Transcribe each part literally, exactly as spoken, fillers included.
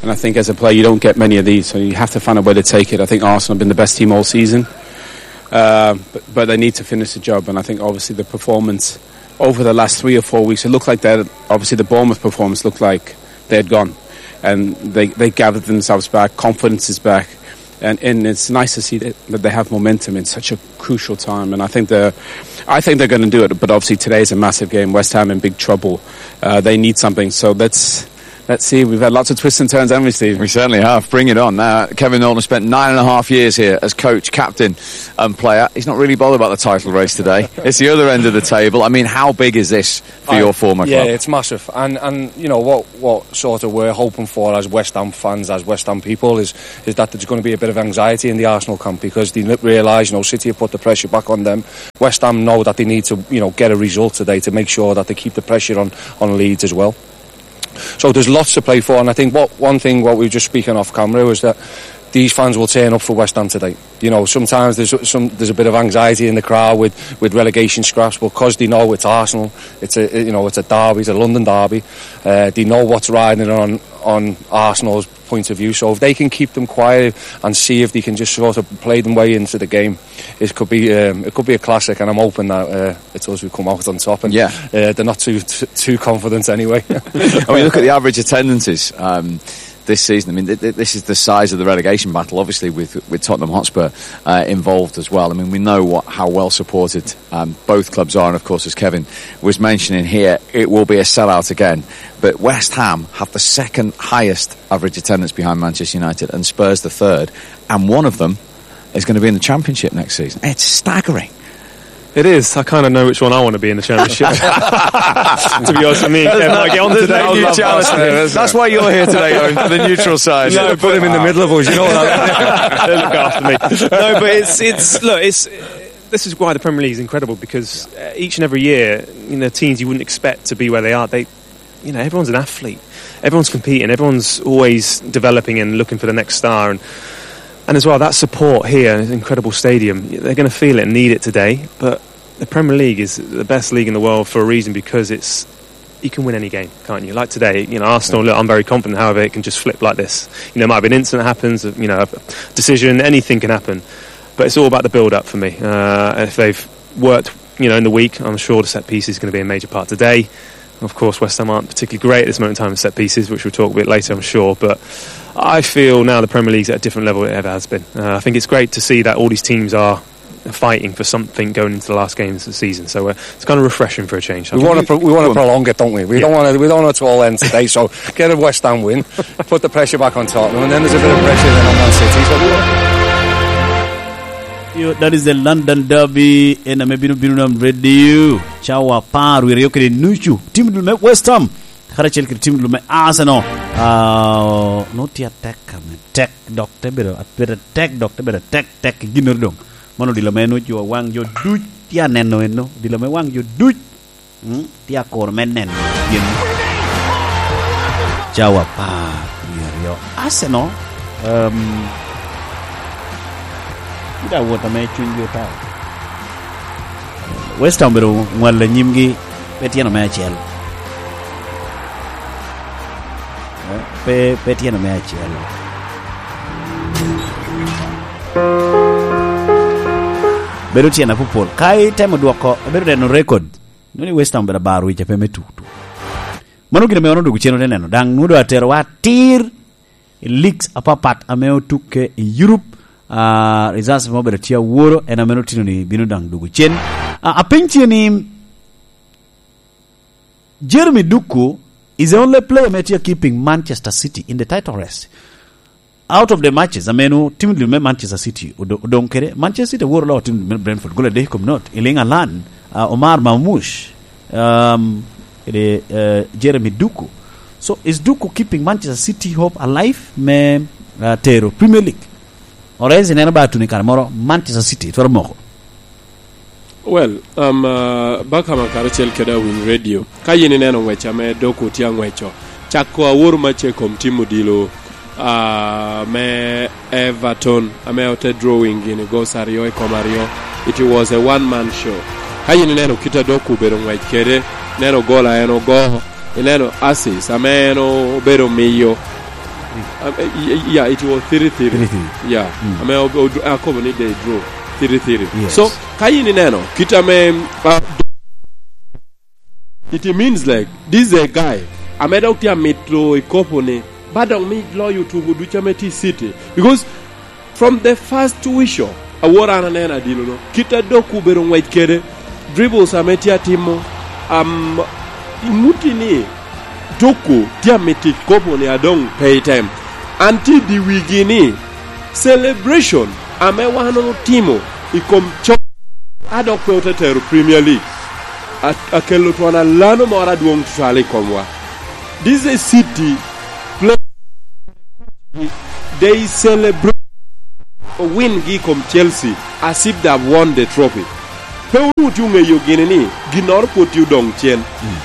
And I think as a player, you don't get many of these, so you have to find a way to take it. I think Arsenal have been the best team all season, uh, but, but they need to finish the job. And I think obviously the performance over the last three or four weeks, it looked like that. Obviously, the Bournemouth performance looked like they had gone, and they, they gathered themselves back. Confidence is back, and, and it's nice to see that, that they have momentum in such a crucial time. And I think they're, I think they're going to do it. But obviously, today is a massive game. West Ham in big trouble. Uh, they need something. So let's Let's see, we've had lots of twists and turns, haven't we, Steve? We certainly have. Bring it on. Now, Kevin Nolan spent nine and a half years here as coach, captain, and player. He's not really bothered about the title race today. It's the other end of the table. I mean, how big is this for I, your former yeah, club? It's massive. And, and, you know, what, what sort of we're hoping for as West Ham fans, as West Ham people, is, is that there's gonna be a bit of anxiety in the Arsenal camp because they n-, realise, you know, City have put the pressure back on them. West Ham know that they need to, you know, get a result today to make sure that they keep the pressure on, on Leeds as well. So there's lots to play for, and I think what, one thing what we were just speaking off camera was that these fans will turn up for West Ham today. You know, sometimes there's some, there's a bit of anxiety in the crowd with, with relegation scraps, but 'cause they know it's Arsenal, it's a, you know, it's a derby, it's a London derby. Uh, they know what's riding on, on Arsenal's point of view. So if they can keep them quiet and see if they can just sort of play them way into the game, it could be, um, it could be a classic, and I'm hoping that, uh, it's us who come out on top, and, yeah, uh, they're not too, t-, too confident anyway. I mean, look at the average attendances, um, this season. I mean, th-, th-, this is the size of the relegation battle, obviously, with, with Tottenham Hotspur, uh, involved as well. I mean, we know what, how well supported, um, both clubs are, and of course, as Kevin was mentioning here, it will be a sellout again. But West Ham have the second highest average attendance behind Manchester United, and Spurs the third, and one of them is gonna be in the Championship next season. It's staggering. It is. I kinda know which one I wanna be in the Championship. To be honest, me and Kev might get on today. There's no new challenge. That's why you're here today, Owen, for the neutral side. No, put him in the middle of us, you know what I mean? They look after me. No, but it's, it's, look, it's, this is why the Premier League is incredible, because, uh, each and every year, you know, teams you wouldn't expect to be where they are, they, you know, everyone's an athlete. Everyone's competing. Everyone's always developing and looking for the next star. And, and as well, that support here, an incredible stadium, they're gonna feel it and need it today. But the Premier League is the best league in the world for a reason, because it's, you can win any game, can't you? Like today, you know, Arsenal, look, I'm very confident, however, it can just flip like this. You know, it might be an incident that happens, you know, a decision, anything can happen. But it's all about the build-up for me. Uh, if they've worked, you know, in the week, I'm sure the set piece is gonna be a major part today. Of course, West Ham aren't particularly great at this moment in time in set pieces, which we'll talk a bit later, I'm sure. But I feel now the Premier League's at a different level it ever has been. Uh, I think it's great to see that all these teams are fighting for something going into the last games of the season. So, uh, it's kind of refreshing for a change. We wanna pro-, we wanna prolong it, don't we? We don't wanna, we don't want it to all end today. So get a West Ham win, put the pressure back on Tottenham, and then there's a bit of pressure then on Man City. So Yo, that is the London Derby, en ame bino bino nam radio. Cawa apar wie aryo kede nucu, tim dul me West Ham karacel kede tim dul me Arsenal. Ah, no tye atek ame tek, dok te bedo, bedo atek, dok te bedo atek, tek i ginnoro doŋ. Mano odilo me nucu waŋ jo duc tye aneno eno, odilo me waŋ jo duc. Mm, tye akuro me neno pien cawa apar wie aryo. Arsenal, um, tye ka wot ame cunygi otao. West Ham obedo ŋwalo i nyimgi pe tyeno me acel. Eh, pe, pe tyeno me acel. Bedo tyeno apopol. Ka itemo dwoko, ibedo neno record. Nwoŋo ni West Ham obedo abaro wic ape me tutu. Mano gin ame wan odwogo cen ote neno. Daŋ nwoŋo doŋ aterowa atir i leagues apapat ame otukke i Europe. Ah, results ame obedo tye aworo, en ame otino ni bino daŋ dwogo cen. Ah, apeny tye ni, Jeremy Doku is the only player ame tye keeping Manchester City in the title race. Out of the matches, ameno tim dul me Manchester City odo-, odong kede, Manchester City oworo loko tim dul me Brentford, gol adek i kom not. Erling Haaland, uh, Omar Marmoush, um, kede, uh, Jeremy Doku. So, is Doku keeping Manchester City hope alive me, uh, tero Premier League? Or else ineno ba tuno i kare moro, Manchester City twero moko. Well, um, uh, Bakama karacel kede Awiny Radio. Ka yin ineno ngwec ame Doku tye angweco, cako awor macce i kom tim odilo, uh, me Everton, ame ote drawing gini goals aryo i kom aryo. It was a one man show. Ka yin ineno kit a Doku obedo ngwec kede, ineno gol a en ogo, ineno assist ame en obedo miyo, Um, eh, y-, y-, yeah, it was three three. Three three. Yeah. Mm. I mean, ob-, ob-, akobo ni they drew three three. Yes. So, ka in ineno, kit ame, uh, it means, like, this is a guy ame dok tye amito i kopo ni, ba dok mi loyo tugo ducu ame tye i City. Because from the first whistle, awor an aneno adilo-no, kit a Doku obedo ngwec kede, dribbles ame tye atimo, am, imuti ni Doku tye amito i kopo ni adoŋ pe item. An tye i dye wigi ni celebration ame wan otimo i kom cok a dok pe ote tero Premier League, a-, akelo twon alano moro adwoŋ tutwal i komwa. This is a City play. They celebrate owingi i kom Chelsea as if they have won the trophy. Pe onwoŋo tye oŋeyo gini ni ginnoro pwod tye odoŋ cen. Mm.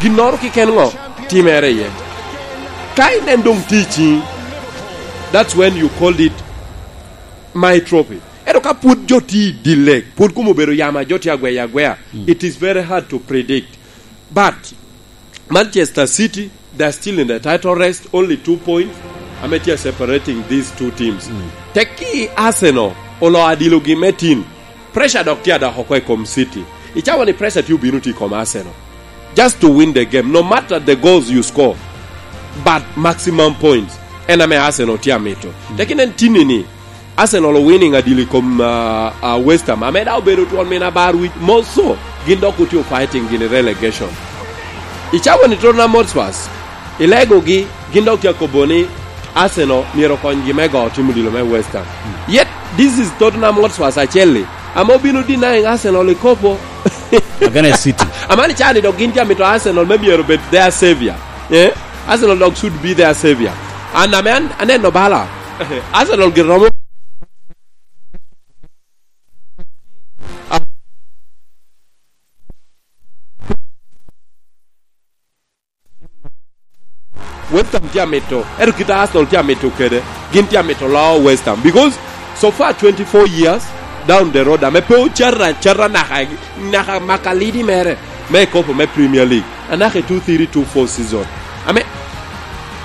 Ginnoro keken ŋo timere iye. Ka inen doŋ tye i ciŋi, that's when you called it my trophy. Ento ka pwod jo tye i dye leg, pwod kom obedo yamo a jo tye agweyo agweya, mm, it is very hard to predict. But Manchester City, they are still in the title race, only two points, ame tye separating these two teams. Mm. Tekki Arsenal olo adilogi me tin, pressure dok tye adok oko i kom City. Icawa ni pressure tye obino tye i kom Arsenal. Just to win the game, no matter the goals you score, but maximum points, en ame Arsenal tye amito. Mm. Tekki nen tinni ni, Arsenal winning adil i kom, ah, ah, West Ham. Ame daŋ obedo twon min abar wic moso, gin dok otye fighting gini relegation. Icawa ni Tottenham Hotspurs, ilegogi, gin dok tye akobo ni Arsenal myero okonygi me go timo odilo me West Ham. Yet, this is Tottenham Hotspurs acel-li, ame obino denying Arsenal i kopo. Against City. Amani cani dok gin tye amito Arsenal me myero obed their savior. Eh? Arsenal dog should be their savior. An ame an-, aneno bala. Arsenal gin romo. West Ham tye amito, ento kit a Arsenal tye amito kede, gin tye amito loo West Ham. Because so far twenty-four years down the road, ame pe ocato acata naka, naka makalidi mere. Me kopo me Premier League, anaka i two three two four season. Ame,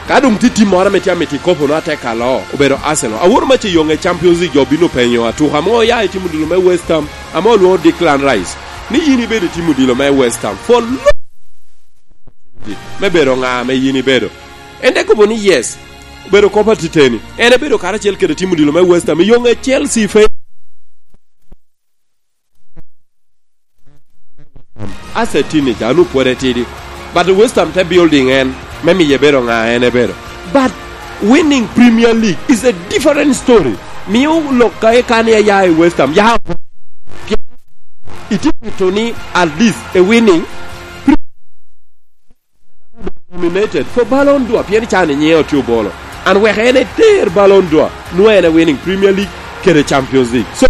ka doŋ tye tim moro ame tye amito i kopo no atek aloo, obedo Arsenal. Aworo mac i yoŋe Champions League, jo bino penyo, "Atuka mo oya i timo odilo me West Ham?" Ame olwoŋo Declan Rice, ni yin ibedo i timo odilo me West Ham. For lo-, me bedo ŋa ame yin ibedo? En te kobo ni, "Yes, obedo kop atiteni." En ebedo karacel kede timo odilo me West Ham. I yoŋe Chelsea fe- As a teenager, anu pwod etidi. But West Ham te building en, me miye bedo ŋa en ebedo. But winning Premier League is a different story. Mio lok ka ikani aya i West Ham, ya, itye mito ni at least a winning nominated for Ballon d'Or, pien can i nyiŋe otye obolo. An wek en eter Ballon d'Or, nwoŋo en e winning Premier League kede Champions League. So,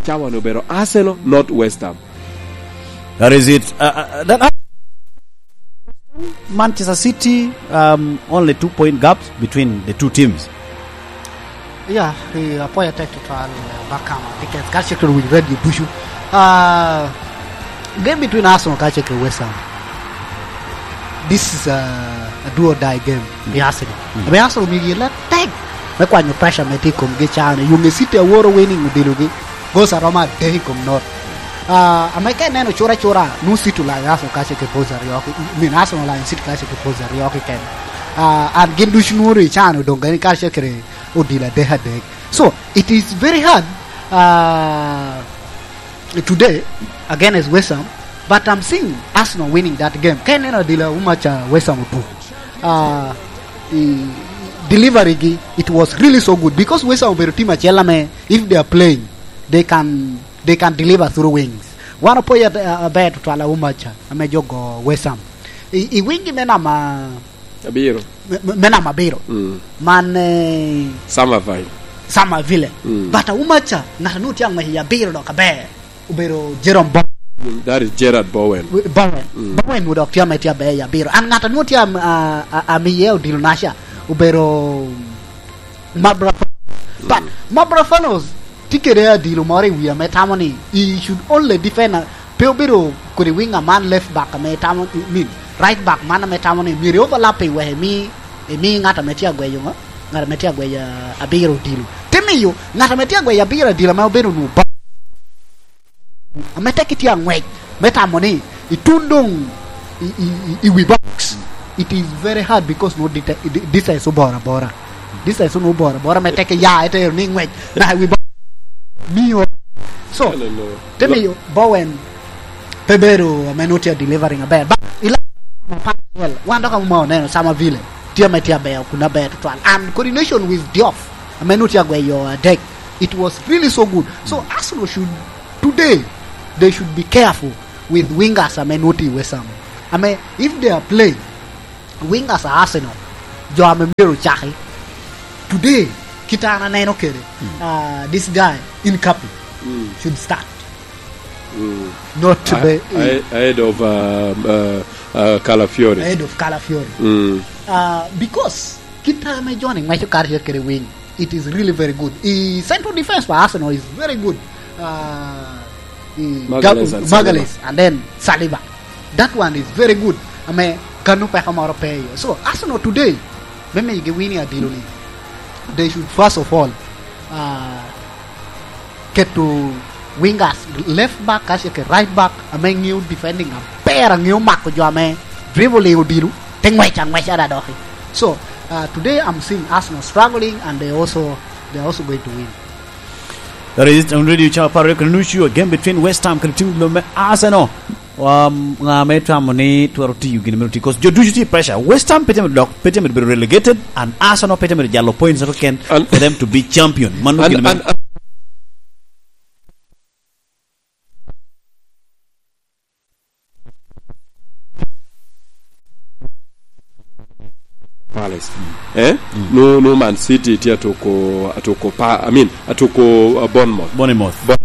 cawa ni obedo Arsenal, not West Ham. That is it. Uh, uh, that Manchester City, um, only two point gaps between the two teams. Yeah, eh, apoya tek tutwal, eh, Bakama, because ka cek to winy radio bushu. Uh, game between Arsenal ka cek West Ham. This is a, a do or die game. Mm. The Arsenal. Mm. Ame Arsenal migi la tek. Me kwanyo pressure me tye i komgi can. Yung e City aworo winning odilogi. Goals aromo adek i kom not. Uh, ame ka ineno cura cura, nu City olany Arsenal ka cek points aryo ki, I mean, Arsenal olany City ka cek points aryo keken. Uh, and gin ducu nworo i can odong gani ka cek odilo adek adek. So, it is very hard, uh, today against West Ham, but I'm seeing Arsenal winning that game. Ka ineno adila umaca West Ham otuko, uh, i delivery gi, it was really so good because West Ham obedo team acel ame, if they are playing, they can, they can deliver through wings. Wan opoyo at-, a-, aber tutwal a umaca ame jogo West Ham. I, i wing gi me nama Abiro. Me, me, me namba abiro. Mm. Man, eh, Summerville. Summerville. Mm. But Aumacha, ŋat a nwoŋo tye aŋwec i abiro dok aber, obedo Jerome Bowen. Mm, that is Gerard Bowen. Bowen. Mm. Bowen nwoŋo dok tye ame tye aber i abiro. And ŋat a nwoŋo tye am-, a, a, amiye odilo naca, obedo Mabra Fanos. But Mm. Mabra Fanos, Tye kede adilo moro i wi ame tamo ni, he should only defend, uh, pe obedo kodi wing man, left back ame tamo, I mean, right back man ame tamo ni myero i overlap i wek imi, imi ŋat ame tye agweyo ŋo? Ŋat ame tye agweyo, uh, abiro odilo. Te miyo ŋat ame tye agweyo abiro adilo ame obedo nu ba-, ame tek itye aŋwec, me tamo ni itun doŋ i, i, i, i wi box. It is very hard because no dita-, di-, distance oboro abora. Distance no oboro abora, me tek iya itero ni ŋwec naka i wi box. Miyo. So, te miyo Bowen pe bedo ame no tye delivering aber. But ila, wan dok amo oneno Samavile tye ame tye aber, kun aber tutwal. And coordination with Diouf, ame no tye agweyo adek. It was really so good. So, Arsenal should, today, they should be careful with wingers ame no tye i West Ham. Ame, if they are playing, wingers a Arsenal, jo ame myero ocaki. Today, kit an aneno kede, uh, this guy, Hincapié, should start. Not to be ahead of, uh, uh, uh, Calafiori. Ahead of Calafiori. Uh, because kit ame Johnny ŋweco karacel kede wing, it is really very good. I central defense pa Arsenal is very good. Uh, i Magalhaes Gab-, and Magalhaes Saliba. And then Saliba. That one is very good. Ame kano peko moro pe iye. So, Arsenal today, me migi wini adilo ni, they should first of all, uh, keto wingers, left back, kace ke right back, ame ŋeo defending aber, ŋeo mako jo ame dribbling odilo, te ŋwec aŋweca da doki. So, uh, today I'm seeing Arsenal struggling, and they also, they are also going to win. That is it on Radio Chapar, you can reach you a game between West Ham and team me Arsenal. Um, ŋa me tamo ni twero tiyo gin me ti? 'Cause jo ducu ti pressure. West Ham pe tye mere dok, pe tye mere bedo relegated, and Arsenal pe tye mere jalo points keken for them to be champion. Mano gin me Palace. Eh? No, no, Man City tye atoko, atoko pa, I mean, atoko, uh, Bournemouth. Bournemouth. Bon-,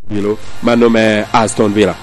Bilo, mano me Aston Villa.